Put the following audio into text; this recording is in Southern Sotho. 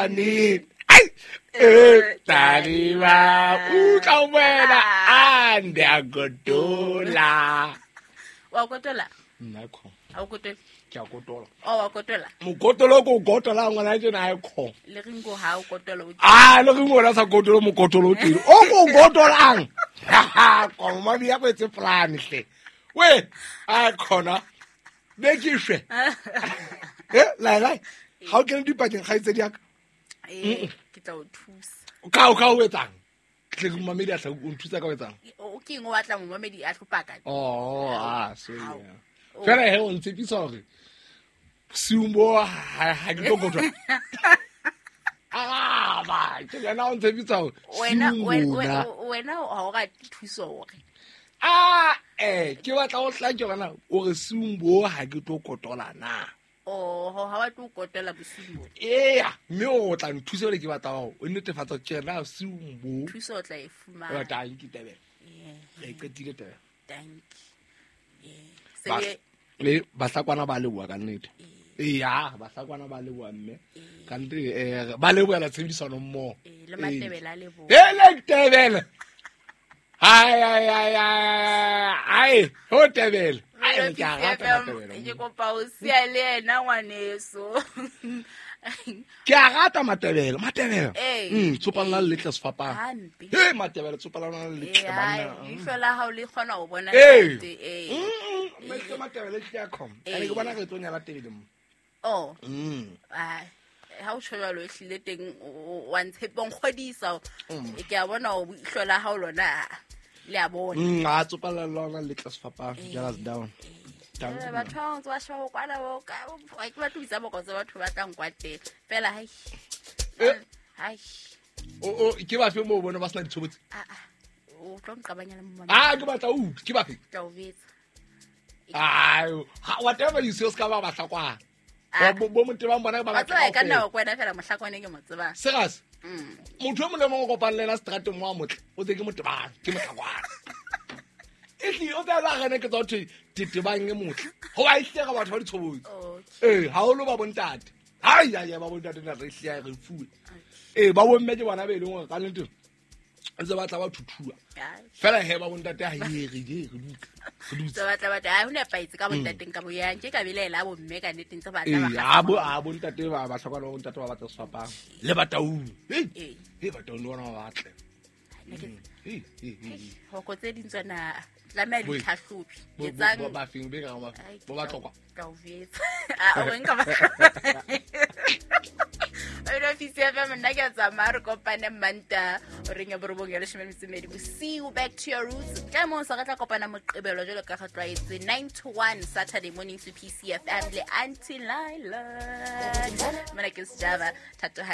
Tani. Ai. Eh, tani ba. Utlwa wena ande a godola. Wa kotola? Nna kho. Ha o kotole? Ke a kotola. O wa kotola? Mokotolo ko gotola ngwana tjena ha e kho. Le Ringo ha o kotola o Ah, le Ringo la sa kotolo mokotolo o teng. O ko gotolang. Ha koma di ya go etse plan hle. We, a khona. Be ke shwe. Eh, lai lai. Ha o kene dipakeng kgaitsedi ya ka. Eh, ke tla o thusa. Ka o etsang? Tle ke momamedi a tla o nthusa ka o etsang? O ke eng o batla momamedi a tlo paka? Oh, ah, sorry. Hao. Fela he o ntshepisa hore bosiung bo ha ke tlo kotola. Ah, ba, ke yena o ntshepisa hore Wena bosiung bona. wena ha o rate thuso hore. Ah, eh, ke batla ho hlake hore na o re bosiung bo ha ke tlo kotola na. Oho, ha wa tlo kotola bosiung bo. Eya, mme o tla nthusa hore ke batla hore o netefatsa tjena bosiung bo. Thuso o tla e fumana. O tla nkitebela. Eh, Re qetile taba. dankie. Eh, Ba- se le bahlakwana ba leboha ka nnete. Eya, bahlakwana ba leboha mme. Ka nnete ba lebohela tshebedisano mmoho. Eh, le Matebele a leboha. Ele Tebele. Ai ai ai ai ai, ho Tebele. Ai ke a rata Matebele. Ke kopa o siya le yena ngwaneso. Ke a rata Matebele, Matebele. Ee. Tsopana le letle sefapano. Hampe. He Matebele tsopana le letle Eh, hai, banna. leihlo la hao le kgona ho bona Ee. nnete, ee. Mme Matebele ke a khom. Ee. Ene ke bona re tlo nyala Tebele mo. Oh, ai, ha o tjho jwalo ehlile teng wa ntshepa o nkgodisa. Ke a bona hore leihlo la hao lona le a bona. A tsopana le lona letle sefapano. Jealous down. Down. Eh, batho ba ntse ba sheba ho kwana bo ka ha ke batle ho bitsa bokotse batho ba tlang kwa teng fela hai. Eh. Hai. O ke bafe moo bona ba sena ditshobotsi? Ah ah. O tlo nqabanya le mmama. Ah, ke batla o utlwe, ke bafe? Tla o betsa. Ai, whatever you say o ska ba bahlakwana. Ah. Bo motebang bona ba Wa batla tseba e ka nna kaofela. wa kwena fela mohlakwane ke mo tsebang. Serious? Motho e mong le mong o kopang le yena seterateng mo a motle, o tse ke motebang, ke mohlakwana. Ehlile o tla la rene ke tsa ho thwe tetebang e motle. Hoba ehlile re batho ba ditshobotsi. Okay. Ee, haholo ba bontate. Hai, ai, ai, ba bontate na re hlile re fuwe. Ee, ba bomme ke bona be leng hore ka nnete ntse ba tla ba thuthua. Ai. Fela he ba bontate ha e re re re dutse. Re dutse. Tse batla batla ha ho nepahetse ka bontateng ka boyang ke ka belaela bo mme ka nnete ntse batla ba Ee, kgahla a bo a bontate ba ba hloka le bontate ba batla sefapano. Le bataung. Hey, Ee. hey bataung le bona ba batle. Nna ke- Hey, hey, hey. hoko tse ding tsona tlameha di Bo- tlhahlobi Bo etsang bo ba feng be ka ba Ai, bo ba tlokwa. ka o betsa. Ah, o nka ba Wena ofisi ya FM, nna ke a tsamaya re kopane Manta horeng ya borobong ya leshome le metso e mmedi bosiu. Back to your roots. Ka moo sa re tla kopana Moqebelo jwalo ka re tlwaetse 9 to 1 Saturday morning to PCFM le Auntie Laila. Mona ke Sejaba Thatohatsi.